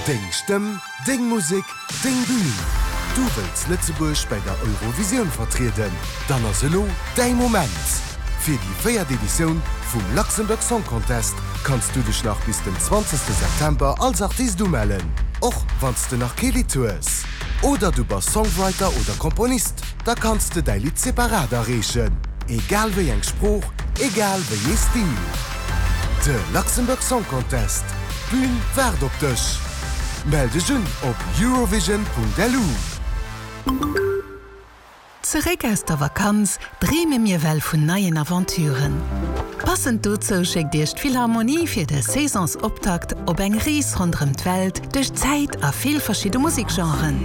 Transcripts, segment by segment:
Deng Stëmm, deng Musek, deng Bühn. Du wëlls Lëtzebuerg bäi der Eurovisioun vertrieden? Dann ass elo däi Moment! Fir déi véiert Editioun vum Luxembourg Song Contest kanns du dech nach bis den 20 September als Artist umellen, och wann s de nach kee Lidd hues. Oder du bass Songwriter oder Komponist, da kanns de däi Lidd separat areechen, egal wéi eng Sprooch, egal wéi ee Stil. De Luxembourg Song Contest, d'Bün waart op dech! Mell dech un op eurovision.lu. Zeréck aus der Vakanz dreeme mir well vun neien Aventuren. Passend dozou schéckt Iech d'Philharmonie fir de Saisonsoptakt op eng Rees ronderëm d'Welt duerch d'Zäit a vill verschidde Musekgenren.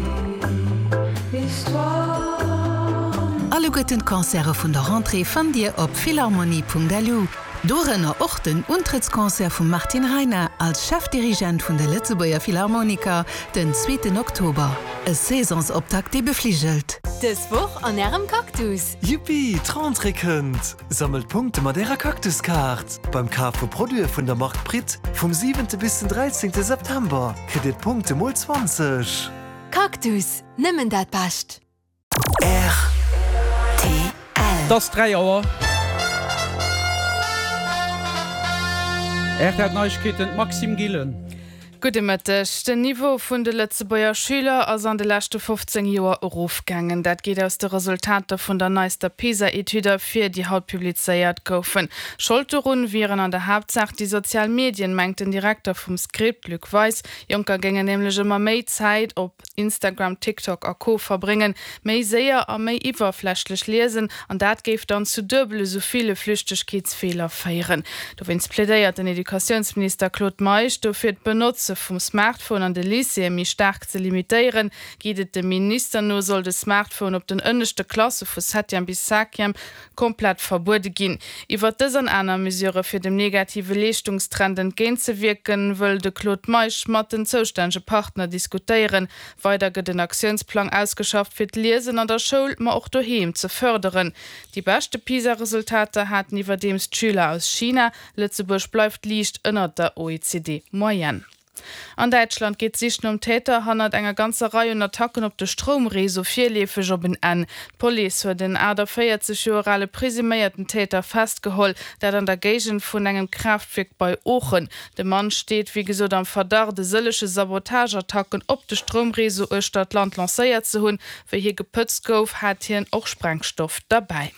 Alleguerten d'Concerte vun der Rentrée fannt Dir op philharmonie.lu. Dorënner och den Untrëttsconcert vum Martin Reiner als Chefdirigent vun de Lëtzebuerger Philharmoniker den zweeten Oktober. E Saisonsoptakt, dee befligelt. Dës Woch an Ärem Cactus! Yuppi, d'Rentrée kënnt! Sammelt Punkte mat Ärer Cactus-Kaart! Beim Kaf vu Produite vun der Mark Pritt vum siwente bis den dräizéngte September kritt Dir d'Punkte mol 20. Cactus, nëmmen dat Bescht! Rtl. Et ass 3 Auer. Rtl Neiegkeeten, d'Maxime Gillen. Gudde Mëtteg. Den Niveau vun de Lëtzebuerger Schüler ass an de leschte 15 Joer erofgaangen. Dat geet aus de Resultater vun der neister PISA-Etüd ervir, déi haut publizéiert goufen. Schold dorun wieren an der Haaptsaach déi sozial Medien, mengt den Direkter vum Script, Luc Weis. Jonker géingen nämlech ëmmer méi Zäit op. Instagram, TikTok a Co verbréngen, méi séier a méi iwwerflächlech liesen an dat géif dann zu duebel esou ville Flüchtegkeetsfeeler féieren. Dowéinst plädéiert den Educatiounsminister Claude Meisch dofir, d'Benotze vum Smartphone an de Lycéeë méi staark ze limitéieren. Geet et dem Minister no, soll de Smartphone op den ënneschte Klasse vu Septième bis Cinquième komplett verbuede ginn. Iwwert dës an aner Mesurë fir dem negative Leeschtungstrend entgéintzewierken, wëll de Claude Meisch mat den zoustännege Partner diskutéieren. Weider gëtt en Aktiounsplang ausgeschafft, fir d'Liesen an der Schoul, ma och doheem ze fërderen. Déi beschte PISA-Resultater haten iwwerdeems d'Schüler aus China. Lëtzebuerg bleift liicht ënnert der OECD-Moyenne. An Däitschland geet d'Sich nom Täter hannert enger ganzer Rei un Attacken op de Stroumreseau virleefeg op en Enn. D'Police huet en 48 Joer ale presuméierten Täter festgeholl, dat an der Géigend vun engem Kraaftwierk bei Oochen. De Mann steet wéi gesot am Verdacht, e sëllege Sabotageattacken op de Stroumreseau uechter d'Land lancéiert ze hunn. Wéi hie gepëtzt gouf, hat hien och Sprengstoff derbäi.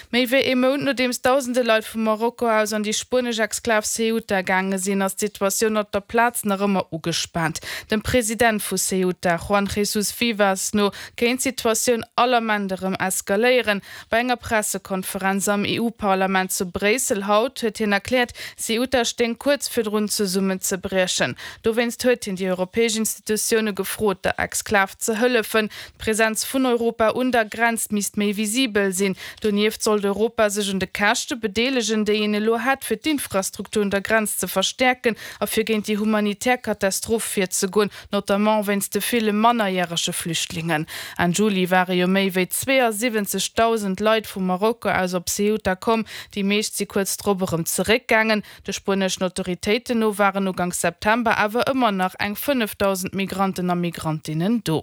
Méi wéi ee Mount nodeems dausende Leit vu Marokko aus an déi spuenesch Exklav Ceuta gaange sinn, ass d'Situatioun op der Plaz nach ëmmer ugespaant. Dem President vu Ceuta, Juan Jesús Vivas, no kéint d'Situatioun all Ament erëm eskaléieren. Bei enger Pressekonferenz am EU-Parlament zu Bréissel haut huet hien erkläert, Ceuta stéing kuerz virdrun zesummenzebriechen. Dowéinst huet hien déi europäesch Institutioune gefrot, der Exklav ze hëllefen. D'Präsenz vun Europa un der Grenz misst méi visibel sinn. Donieft sollt Europa sech un de Käschte bedeelegen, déi een elo hätt, fir d'Infrastruktur un der Grenz ze verstäerken a fir géint déi humanitär Katastroph virzegoen, notamment wéinst de ville mannerjärege Flüchtlingen. Enn Juli ware jo méi wéi 72.000 Leit vu Marokko aus op Ceuta komm. Déi meescht si kuerz drop erëm zeréckgaangen. De spueneschen Autoritéiten no waren uganks September awer ëmmer nach eng 5.000 Migranten a Migrantinnen do.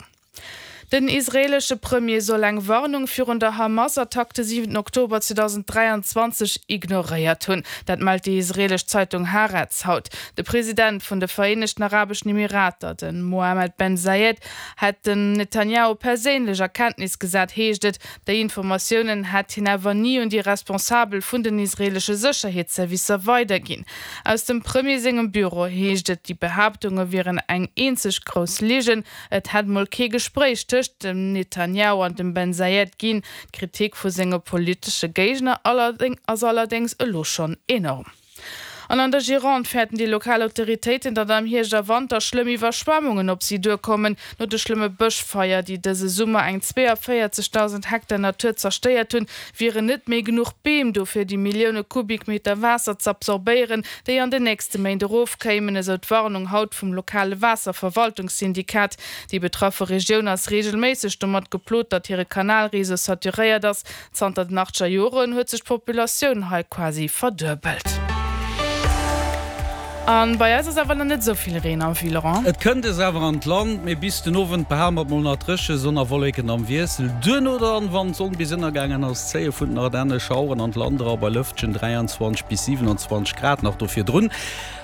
Den israeelesche Premier soll eng Warnung virun der Hamas-Attack de 7 Oktober 2023 ignoréiert hunn. Dat mellt déi israeelesch Zeitung Haaretz haut. De President vun de Vereenegten Arabeschen Emirater, de Mohammed Ben Zayed, hätt den Netanjahu perséinlech a Kenntnis gesat, heescht et. Déi Informatiounen hätt hien awer ni un déi Responsabel vun den israeelesche Sécherheetsservicer weiderginn. Aus dem Premier sengem Büro heescht et, déi Behaaptunge wieren eng eenzeg grouss Ligen. Et hätt mol kee Gespréich tëscht dem Netanjahu an dem Ben Zayed ginn. D'Kritik vu senge politesche Géigner ass allerdéngs elo schonn enorm. An an der Gironde fäerten déi lokal Autoritéiten, datt am Hierscht a Wanter schlëmm Iwwerschwemmungen op si duerkommen. No de schlëmme Bëschfeier, déi dëse Summer eng 42.000 Hektar Natur zerstéiert hunn, wieren net méi genuch Beem do, fir déi Millioune Kubikmeter Waasser z'absorbéieren, déi an den nächste Méint erofkéimen, esou d'Warnung haut vum lokale Waasserverwaltungssyndikat. Déi betraffe Regioun ass reegelméisseg domat geplot, datt hire Kanalreseau saturéiert ass. Zanter den achtzeger Joren huet sech d'Populatioun hei quasi verduebelt. An bei eis ass awer nach net esou vill Reen am Vue, Laurent. Et kënnt es awer an d'Land, mee bis den Owend behale mer et mol nach dréche, Sonn a Wolleken am Wiessel. Duerno dann, wann d'Sonn bis ënnergaangen ass, zéie vun den Ardenne Schaueren an d'Land era bei Lëftchen 23 bis 27 Grad nach do virdrun.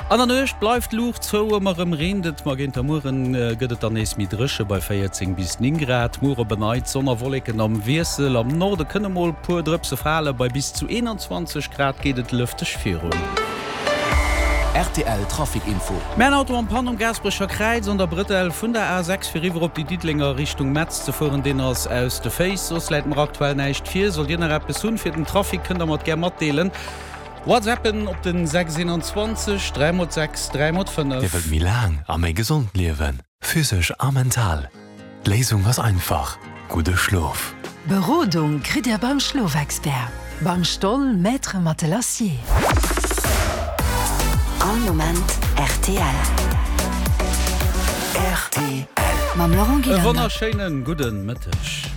An der Nuecht bleift d'Luucht zou, ëmmer erëm reent et, ma géint der Mueren gëtt et dann nees méi dréche bei 14 bis 9 Grad. Muer op en Neits Sonn a Wolleken am Wiessel, am Norde kënne mol puer Drëpse fale, bei bis zu 21 Grad geet et lëfteg virun. Rtl Trafic Info. Mä en Auto en panne um Gaasperecher Kräiz an der Brëtell vun der A6 fir eriwwer op déi Diddelenger Richtung Metz ze fueren, deen ass aus de Féiss. Soss läit mer aktuell näischt vir. Sollt Dir nach eppes hunn fir den Trafic, kënnt der mer et gär matdeelen. WhatsAppen op den 6 21 3 x 6 3 x 5. Dir wëllt méi laang a méi gesond liewen, physesch a mental? D'Léisung ass einfach, gudde Schlof! Berodung kritt Dir beim Schlofexpert, beim Stoll Maître Matelassier. All Moment rtl. Rtl. Mam Laurent E Gillander. wonnerschéinen gudden Mëtteg.